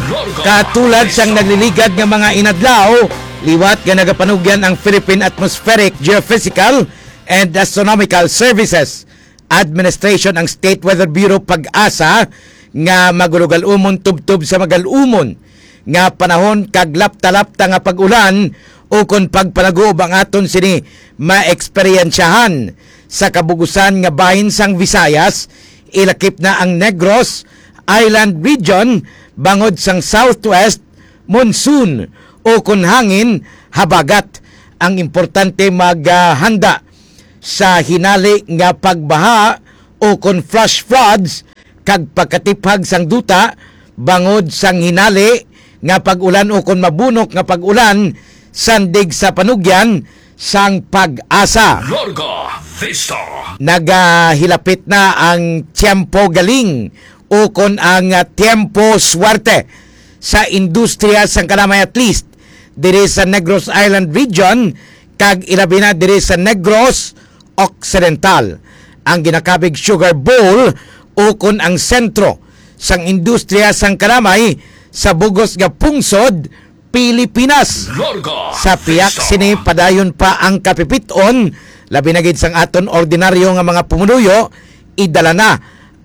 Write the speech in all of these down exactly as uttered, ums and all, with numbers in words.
Larga Katulad sang Vista. Nagliligad nga mga inadlaw, liwat nga nagapanugyan ang Philippine Atmospheric, Geophysical, and Astronomical Services Administration ang State Weather Bureau, PAGASA, nga magulogal-umon tubtob sa magal-umon nga panahon kag lapta-lapta nga pag-ulan ukon pagpanaguob ang aton sini maeksperyensyahan sa kabugusan nga bahin sang Visayas, ilakip na ang Negros Island Region bangod sang southwest monsoon ukon hangin habagat. Ang importante maghanda sa hinali nga pagbaha ukon flash floods kag pagkatiphag sang duta bangod sang hinali nga pag-ulan ukon mabunok nga pag-ulan, sandig sa panugyan sang PAGASA. Larga Vista. Nagahilapit na ang tiyempo galing ukon ang, ah, tiyempo swerte sa industriya sang kalamay, at least diri sa Negros Island Region kag ilabi na diri sa Negros Occidental, ang ginakabig Sugar Bowl ukon ang sentro sang industriya sang kalamay sa bugos nga pungsod Pilipinas. Larga Sa pihak Vista. Sini, padayon pa ang kapipit-on, labi na gid sang aton ordinaryo nga mga pumuluyo, idala na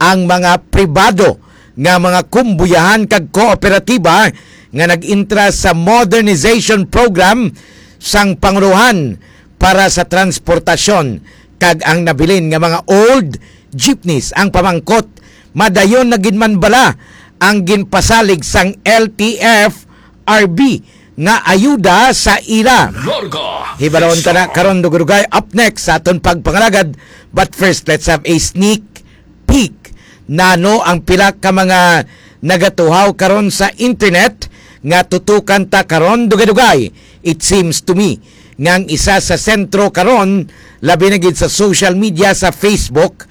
ang mga pribado nga mga kumbuyahan kag kooperatiba nga nag-intra sa modernization program sang pangulohan para sa transportasyon, kag ang nabilin nga mga old jeepneys ang pamangkot. Madayon na gid man bala ang ginpasalig sang L T F R B nga ayuda sa ila? Larga Hibalon ta na Vista. Karon, dugay-dugay, up next sa aton pagpangalagad. But first, let's have a sneak peek. Nano ang pila ka mga nagatuhaw karon sa internet nga tutukan ta karon, dugay-dugay? It seems to me nga ang isa sa sentro karon, labi na gid sa social media, sa Facebook,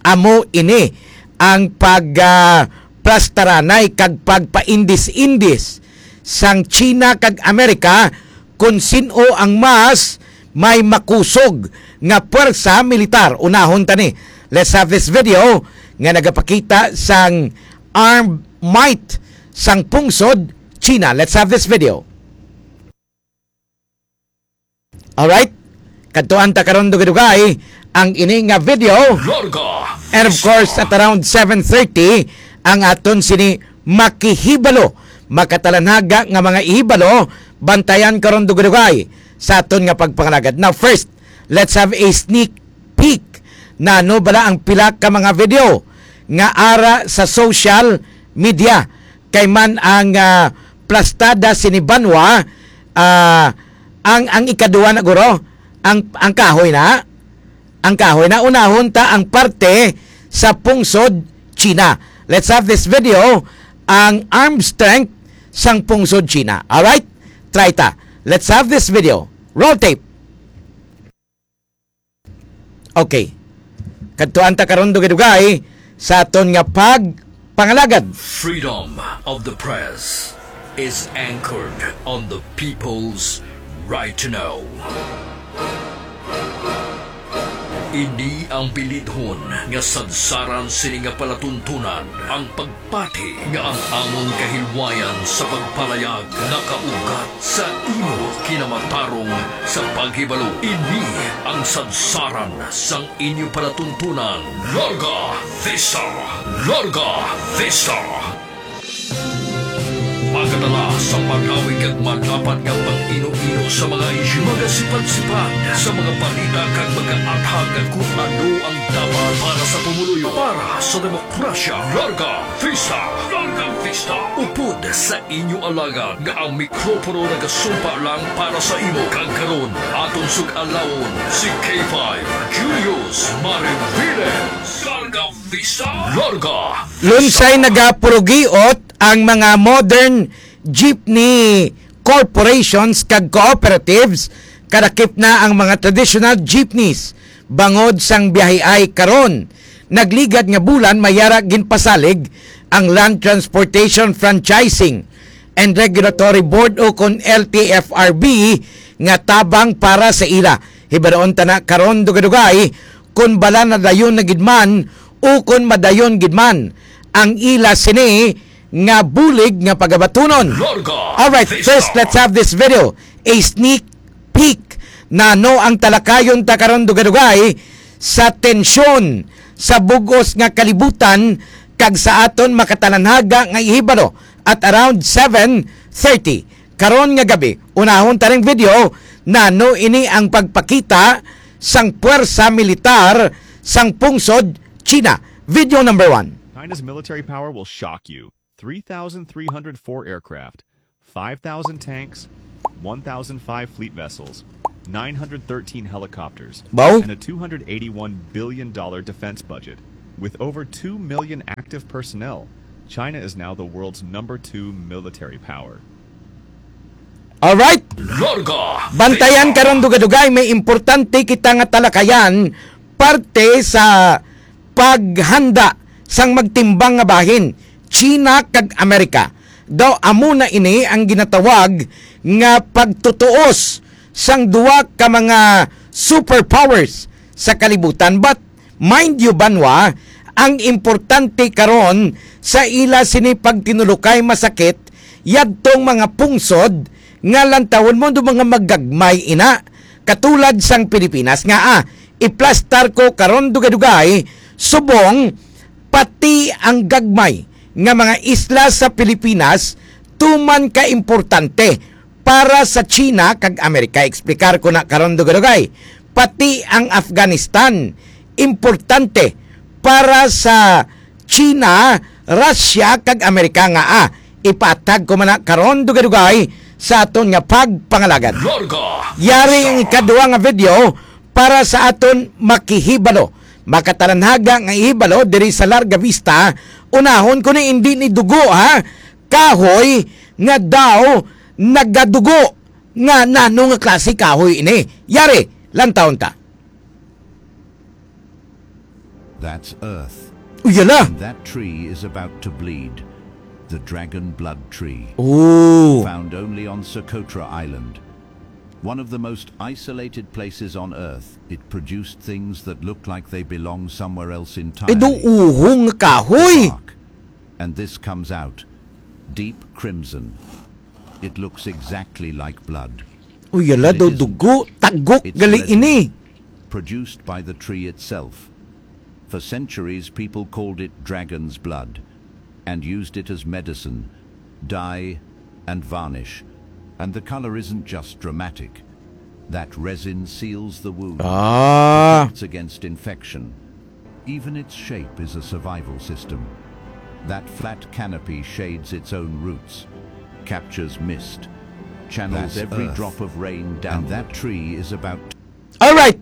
amo ini ang pag, ah, plastaranay kag pagpaindis-indis sang China kag Amerika kon sin-o ang mas may makusog nga pwersa militar. Unahon ta ni. Let's have this video nga nagapakita sang armed might sang pungsod China. Let's have this video. Alright? Kadtuan ta karon, dugay-dugay, ang ini nga video. Larga And of course, Vista. At around seven thirty, ang aton sini makihibalo, makatalanhaga nga mga ihibalo, bantayan karon, dugay-dugay, sa aton nga pagpangalagad. Now, first, let's have a sneak peek. Nano bala ang pila ka mga video nga ara sa social media? Kay man ang, ah, plastada sini banwa, ah, ang, ang ikaduha na, guro, ang, ang kahoy na. Ang kahoy na, unahon ta ang parte sa pungsod China. Let's have this video, ang arm strength sang pungsod China. Alright? Try ta. Let's have this video. Roll tape. Okay. Kadtuan ta karon, dugay-dugay, sa aton nga pagpangalagad. Freedom of the press is anchored on the people's right to know. Ini ang bilidhon nga sadsaran sini nga palatuntunan, ang pag pati nga ang amon kahilwayan sa pagpalayag nakaugat sa imo kinamatarong sa paghibalo. Ini ang sadsaran sang inyo palatuntunan. Larga Vista! Larga Vista! Magadala sa malawig kag malapad nga pag-ino-ino sa mga isyu, magasipad-sipad sa mga balita kag magaathag kung ano ang dapat para sa pumuluyo, para sa demokrasya. Larga Vista! Larga Vista! Upod sa inyo alagad nga ang mikropono nagasumpa lang para sa imo. Kag karon, aton sug-alawon si K five, Julius Mariviles. Larga Vista! Larga Lunsay nagapurugiot ang mga modern jeepney corporations kag cooperatives, kadakip na ang mga traditional jeepneys bangod sang biyahiay karon. Nagligad nga bulan, mayara ginpasalig ang Land Transportation Franchising and Regulatory Board, o kon L T F R B, nga tabang para sa ila. Hibaroon ta na karon, dugay-dugay, kon bala na dayon na gid man o kon madayon gid man ang ila sini nga bulig nga pagabatunon. Larga Alright, Vista. First, let's have this video. A sneak peek. Nano ang talakayon ta karon, dugay-dugay, sa tensyon sa bug-os nga kalibutan kag sa aton makatalanhaga nga ihibalo at around seven thirty karon nga gabi. Unahon ta ring video, nano ini ang pagpakita sang puwersa militar sang pungsod China. Video number one. China's military power will shock you. Three thousand three hundred four aircraft, five thousand tanks, one thousand five fleet vessels, nine hundred thirteen helicopters, Baw? and a two hundred eighty-one billion dollar defense budget. With over two million active personnel, China is now the world's number two military power. Alright? Larga Bantayan Vista. Karon, dugay-dugay, may importante kita nga talakayan parte sa paghanda sang magtimbang nga bahin, China kag Amerika. Daw amo na ini ang ginatawag nga pagtutuos sang duwa ka mga superpowers sa kalibutan. But mind you, banwa, ang importante karon sa ila sini pagtinulokay masakit yadtong mga pungsod nga lantawon mo do mga maggagmay ina, katulad sang Pilipinas nga, ah, iplastar ko karon dugay-dugay, subong pati ang gagmay nga mga isla sa Pilipinas tuman ka importante para sa China kag Amerika. Explicar ko na karon dugay-dugay. Pati ang Afghanistan importante para sa China, Russia kag Amerika nga, ah, ipatag ko man na karon dugay-dugay sa aton nga pagpangalagad. Larga Yari ang Vista. Ikaduha nga video para sa aton makihibalo. Makatalanhaga nga ihibalo diri sa Larga Vista. Unahon ko ni, hindi ni dugo, ha? Kahoy nga daw nagadugo. Nga nano nga klase kahoy ini? Yari, lantawon ta. That's Earth. Uyala! And that tree is about to bleed. The dragon blood tree. Oh. Found only on Socotra Island. One of the most isolated places on Earth, it produced things that looked like they belong somewhere else entirely. Ido uhong kahoy. Bark. And this comes out. Deep crimson. It looks exactly like blood. Uyala daw dugo, tagok gali ini. Produced by the tree itself. For centuries, people called it dragon's blood and used it as medicine, dye, and varnish. And the color isn't just dramatic. That resin seals the wound, Ah. protects against infection. Even its shape is a survival system. That flat canopy shades its own roots, captures mist, channels every drop of rain down. That tree is about. Alright.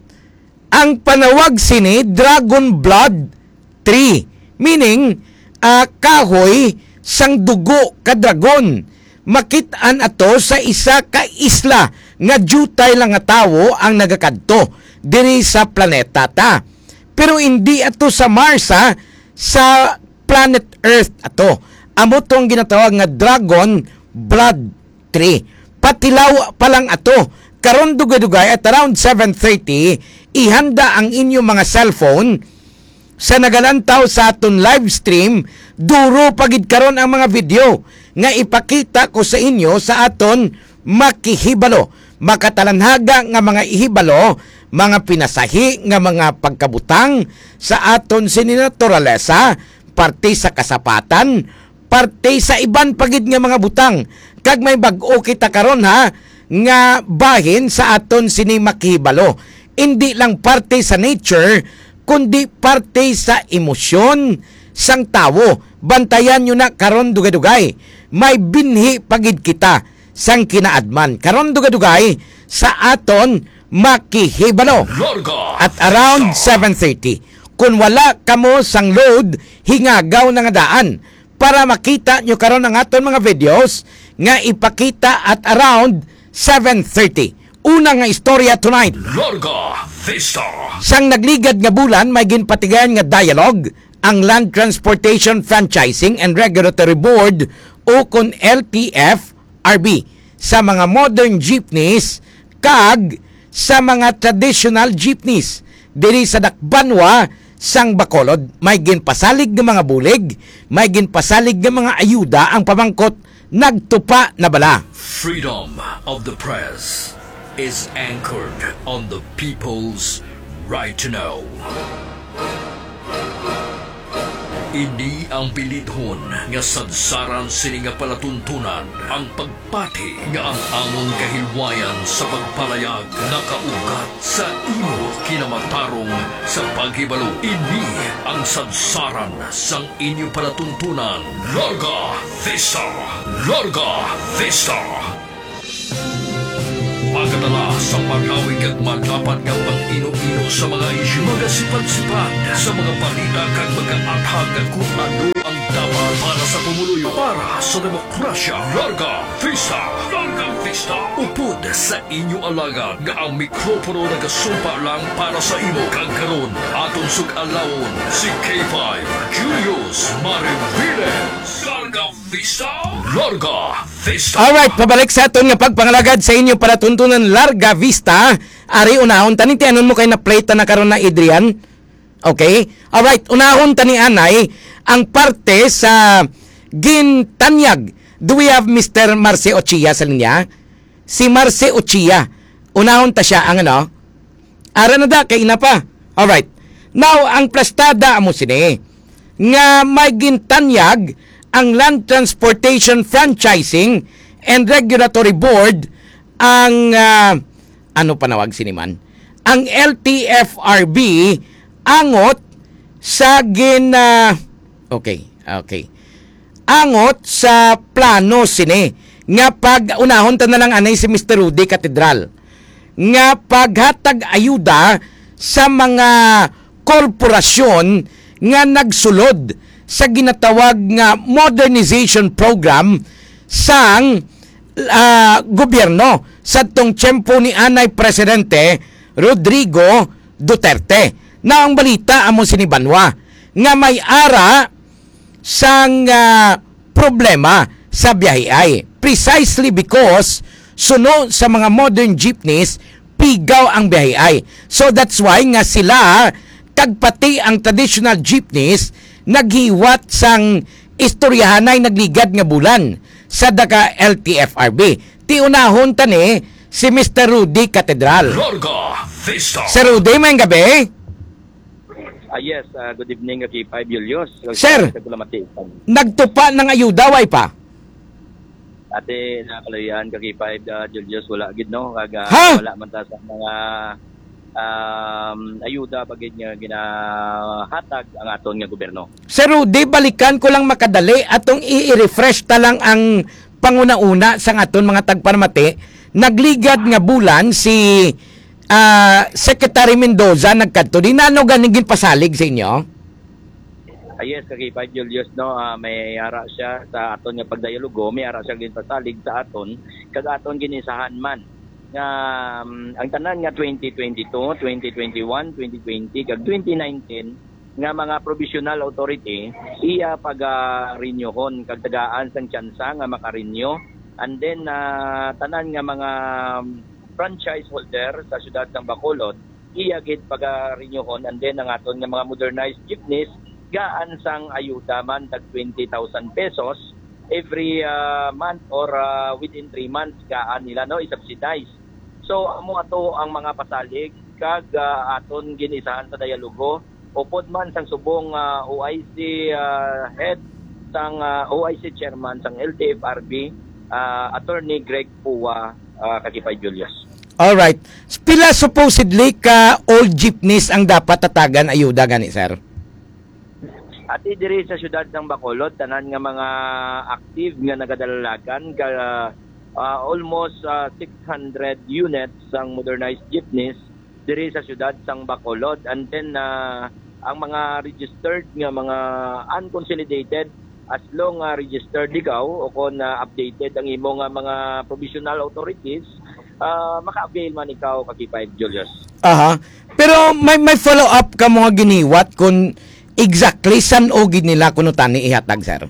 Ang panawag sini, dragon blood tree, meaning, ah, kahoy sang dugo ka dragon. Makit-an ato sa isa ka isla nga diutay lang nga tawo ang nagakadto diri sa planeta ta. Pero hindi ato sa Mars, ha, sa planet Earth ato. Amo to ang ginatawag nga dragon blood tree. Patilaw pa lang ato. Karon dugay-dugay at around seven thirty, ihanda ang inyong mga cellphone sa nagalantaw sa aton live stream. Duro pa gid karon ang mga video nga ipakita ko sa inyo sa aton makihibalo. Makatalanhaga nga mga ihibalo, mga pinasahi nga mga pagkabutang sa aton sini naturalesa, parte sa kasapatan, parte sa iban pa gid nga mga butang. Kag may bag-o kita karon, ha, nga bahin sa aton sini makihibalo. Indi lang parte sa nature, kundi parte sa emosyon sang tawo. Bantayan nyo na karon dugay-dugay. May binhi pa gid kita sang kinaadman. Karon dugay-dugay sa aton makihibalo. Larga At around Vista. Seven thirty. Kung wala kamo sang load, hingagaw na nga daan para makita nyo karon ang aton mga videos nga ipakita at around seven thirty. Una nga istorya tonight. Larga Vista. Sang nagligad nga bulan, may ginpatigayan nga dialogue ang Land Transportation Franchising and Regulatory Board, o kon L T F R B, sa mga modern jeepneys kag sa mga traditional jeepneys diri sa dakbanwa sang Bacolod. May ginpasalig nga mga bulig, may ginpasalig nga mga ayuda. Ang pamangkot, nagtupa na bala? Freedom of the press is anchored on the people's right to know. Ini ang bilidhon nga sadsaran sini nga palatuntunan, ang pagpati nga ang amon kahilwayan sa pagpalayag nakaugat sa imo kinamatarong sa paghibalo. Ini ang sadsaran sang inyo palatuntunan, Larga Vista! Larga Vista! Magadala sa malawig kag madapat nga pag-ino-ino sa mga isyu, magasipad-sipad sa mga balita kag magaathag kon ano ang dapat para sa pumuluyo, para sa demokrasya. Larga Vista! Larga Vista! Upod sa inyo alagad nga ang mikropono nagasumpa lang para sa imo, kag karon aton sug-alawon si K five Julius Mariviles. Larga Vista! Larga Vista! Alright, pabalik sa aton nga pagpangalagad sa inyo palatuntunan, Larga Vista. Ari, unahon ta ni, tianon mo kay na-play ta na karon na, Adrian. Okay? Alright, unahon ta ni anay ang parte sa gintanyag. Do we have Mister Marce Ochia sa linya? Si Marce Ochia. Unahon ta siya ang ano? Ara na da, kay ina pa. Alright. Now, ang plastada amo sini nga may gintanyag ang Land Transportation Franchising and Regulatory Board, ang, ah, ano panawag sini man? Ang L T F R B angot sa gin-, ah, okay, okay. Angot sa plano sini nga pag-, unahon ta na lang anay si Mister Rudy Catedral, nga paghatag ayuda sa mga korporasyon nga nagsulod sa ginatawag nga modernization program sang, ah, gobyerno sadtong tiyempo ni anay Presidente Rodrigo Duterte. Na ang balita amo sini banwa nga may ara sang, ah, problema sa biyaheay, precisely because suno sa mga modern jeepneys, pigaw ang biyaheay. So that's why nga sila kag pati ang traditional jeepneys naghiwat sang istoryahanay nagligad nga bulan sa daga L T F R B. Tiunahon ta ni si Mister Rudy Catedral. Larga Vista. Sir Rudy, may gabi. Ah, yes, ah, good evening, K five Julius. Sir, sa Kulamati. Nagtupa ng ayuda, way pa? Ate, nakaluyan, K five, ah, Julius, wala gid, no? Kag, ah, Ha? Wala man ta sa mga, um, ayuda pa gid nga ginahatag ang aton nga gobyerno. Sir Rudy, balikan ko lang makadali, atong i-, i-refresh ta lang ang panguna-una sang aton mga tagparamati. Nagligad nga bulan si, ah, Secretary Mendoza nagkadto. Di nano gani ginpasalig sa inyo? Ah, yes, K five Julius, no, ah, may ara siya sa aton nga pagdialogo, may ara siya ginpasalig sa aton, kag aton ginisahan man nga, um, ang tanan nga twenty twenty-two, twenty twenty-one, twenty twenty, kag twenty nineteen nga mga provisional authority, iya pagarenyuhon kag tagaan sang tsansa nga makarenew. And then, ah, tanan nga mga, um, franchise holder sa siyudad sang Bacolod, iya gid pagarenyuhon, and then ang aton nga mga modernized jeepneys, gaan sang ayuda man, tag twenty thousand pesos every, ah, month or, ah, within three months, gaan nila, no, i-subsidize. So, amo ato ang mga pasalig kag, ah, aton ginisahan sa dialogo. Upod man sang subong, ah, O I C, ah, head sang, ah, O I C chairman sang L T F R B, ah, Attorney Greg Pua, ah, K five Julius. Alright. Pila supposedly ka old jeepneys ang dapat tatagan ayuda gani, sir? Ati diri sa siyudad sang Bacolod, tanan nga mga active nga nagadalalagan ka, ah, almost, ah, six hundred units sang modernized jeepneys diri sa siyudad sang Bacolod. And then, ah, ang mga registered nga mga unconsolidated, as long nga registered ikaw o kon, ah, updated ang imo nga mga provisional authorities, ah, maka-avail man ikaw, K five Julius. Aha. Pero may, may follow-up ka mo nga giniwat kung exactly san-o gid nila kuno tani ihatag, sir?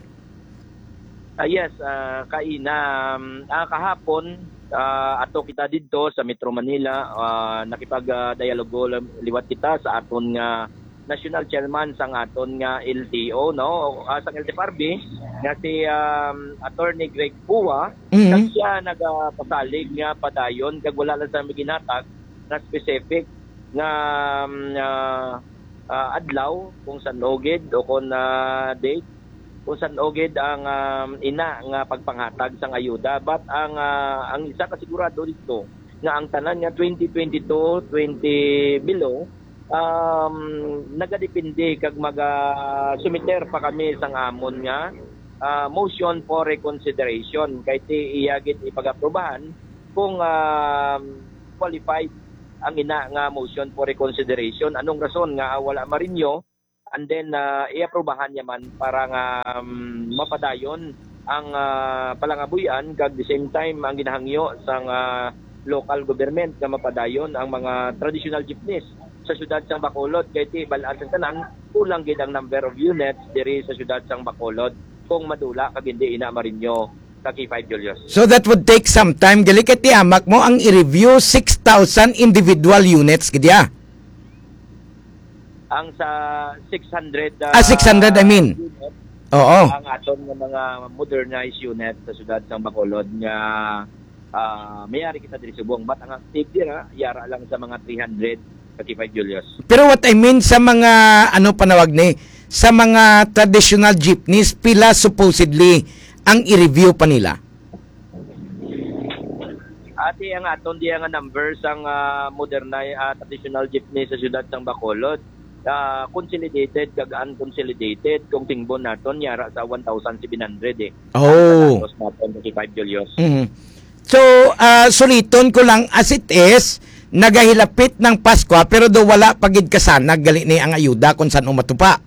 Ah, yes, ah, kaina, um, ah, kahapon, ah, ato kita didto sa Metro Manila, ah, nakipag, ah, dialogo lam-, liwat kita sa aton nga, national chairman sang aton nga L T O, no? Ah, sang L T F R B, nga si, um, Attorney Greg Pua, Mhm. kag siya nagapasalig nga padayon, kag wala lang sa may ginhatag na specific nga, um, ah, ah, adlaw kung san-o gid o kung, ah, date, kung san-o gid ang, um, ina nga pagpanghatag sang ayuda. But ang, ah, ang isa ka sigurado dito, nga ang tanan nga twenty twenty-two, twenty below, um, nagadepende kag maga-sumiter pa kami sang amon nga, ah, motion for reconsideration, kay ti iya gid ipag-aprobahan kung, um, qualified ang ina nga motion for reconsideration. Anong rason nga wala ma-renew? And then, ah, i-aprobahan niya man para nga, um, mapadayon ang, ah, palangabuy-an, kag the same time ang ginahangyo sang, ah, local government nga mapadayon ang mga traditional jeepneys sa siyudad sang Bacolod, kay ti bal-an sang tanan, kulang gid ang number of units diri sa siyudad sang Bacolod kung madula kag hindi ina ma-renew sa K five, Julius. So that would take some time. Gali kay tiamak mo ang i-review six thousand individual units gid ya. Ang sa six hundred, Ah, six hundred, I ah, mean. unit, Oo. ang aton nga mga modernized unit sa siyudad sang Bacolod nga, ah, mayari kita diri subong. But ang active dira, yara lang sa mga three hundred sa K five, Julius. Pero what I mean sa mga, ano panawag ni, sa mga traditional jeepneys, pila supposedly ang i-review pa nila? Ati ang aton diya nga number sang, ah, moderna, ah, traditional jeepney sa siyudad sang Bacolod. Ah, consolidated kag unconsolidated, kung tingbon naton, yara sa one thousand seven hundred eh. Oh. Ang status naton sa K five, Julius. Mhm. So, ah, suliton ko lang, as it is, nagahilapit ng Pasko, pero do wala pa gid kasanag gali ni ang ayuda kung san-o matupa.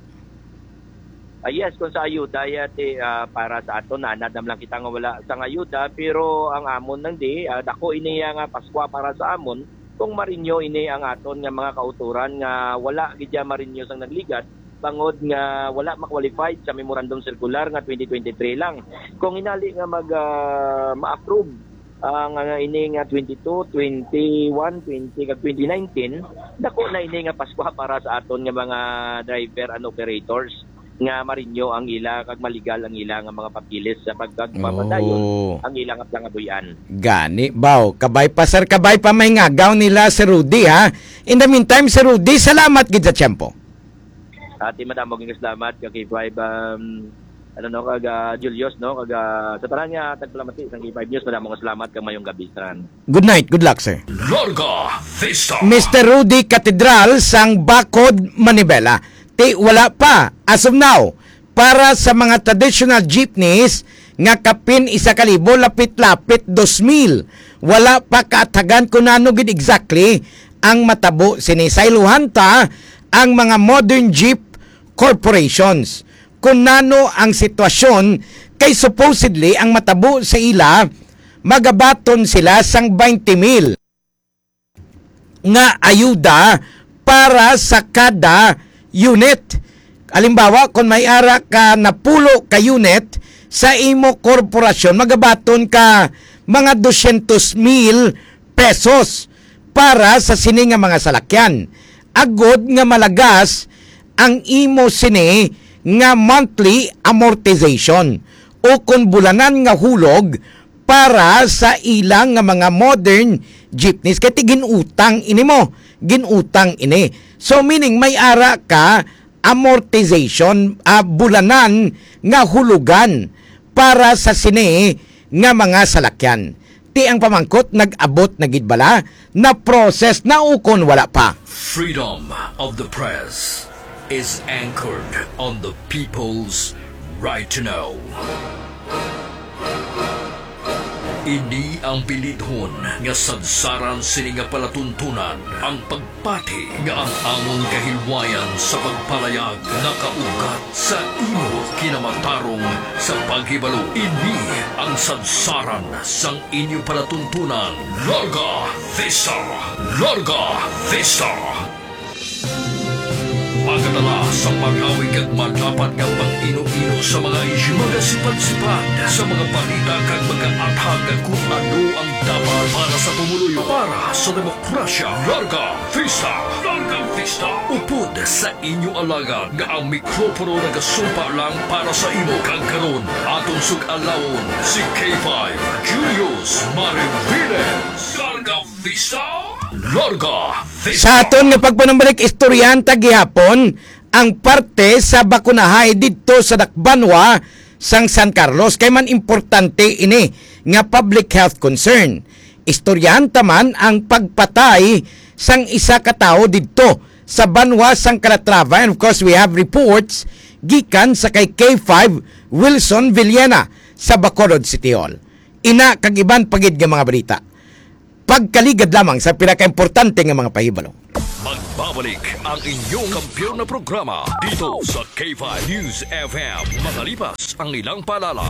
Ah, yes, kung sa ayuda, ya, ti, ah, para sa aton, nanad lang kita nga wala sang ayuda, pero ang amon lang di, ah, dako ini ya nga Paskwa para sa amon, kung ma-renew ini ang aton nga mga kauturan nga wala gid ya ma-renew sang nagligat, bangod nga wala ma-qualified sa memorandum circular nga twenty twenty-three lang. Kung hinali nga mag, ah, ma-approve ang, ah, ini nga twenty-two, twenty-one, twenty kag twenty nineteen, dako na ini nga Paskwa para sa aton nga mga driver and operators nga ma-renew ang ila kag maligal ang ila nga mga papeles sa pagkagpapadayon Oh. ang ila nga palangabuy-an. Gani, baw. Kabay pa, sir. Kabay pa may ngagaw nila si Rudy, ha? In the meantime, si Rudy, salamat gid sa tiyempo. Ati, madamo gid nga salamat ka K five, um, ano, no, kag, ah, Julius, no, kag, ah, sa tanan nga tagpalamati sang K five News, madamo nga salamat kag mayong gabi sa tanan. Good night, good luck, sir. Larga Vista. Mister Rudy Catedral sang Bacod, Manibela. Ti wala pa, as of now, para sa mga traditional jeepneys nga kapin isa ka libo, lapit-lapit dos mil. Wala pa kaatagan kung ano gid exactly ang matabo sini. Sayluhan ta ang mga modern jeep corporations kung nano ang sitwasyon, kay supposedly ang matabo sa ila, magabaton sila sang twenty mil nga ayuda para sa kada unit. Halimbawa, kung may ara ka napulo ka unit sa imo korporasyon, magabaton ka mga dosyentos mil pesos para sa sini nga mga salakyan. Agod nga malagas ang imo sini nga monthly amortization o kon bulanan nga hulog para sa ilang nga mga modern jeepneys. Kay ti ginutang ini mo, ginutang ini. So, meaning, may ara ka amortization, ah, bulanan nga hulugan para sa sini nga mga salakyan. Ti ang pamangkot, nag-abot na gid bala, na-process na ukon wala pa? Freedom of the press is anchored on the people's right to know. Ini ang bilidhon nga sadsaran sini nga palatuntunan, ang pagpati nga ang amon kahilwayan sa pagpalayag nakaugat sa imo kinamatarong sa paghibalo. Ini ang sadsaran sang inyo palatuntunan. Larga Vista! Larga Vista! Magadala sa malawig kag malapad nga pag-ino-ino sa mga isyu, magasipat-sipat sa mga balita kag magaathag kung ano ang dapat para sa pumuluyo, para sa demokrasya. Larga Vista! Larga Vista! Upod sa inyo alagad nga ang mikropono nagasumpa lang para sa imo. Kag karon, aton sug-alawon si K five Julius Mariviles. Larga Vista! Larga Vista! Sa aton nga pagpanumbalik, istoryahan ta gihapon ang parte sa bakunahay didto sa Dakbanwa sang San Carlos, kay man importante ini nga public health concern. Istoryahan ta man ang pagpatay sang isa ka tawo didto sa banwa sang Calatrava, and of course we have reports gikan sa kay K five Wilson Villena sa Bacolod City Hall. Ina kag iban pa gid nga mga balita. Pagkaligad lamang sa pinakaimportante nga mga pahibalo. Magbabalik ang inyong kampiyon na programa dito sa K five News F M. Makalipas ang ilang paalala,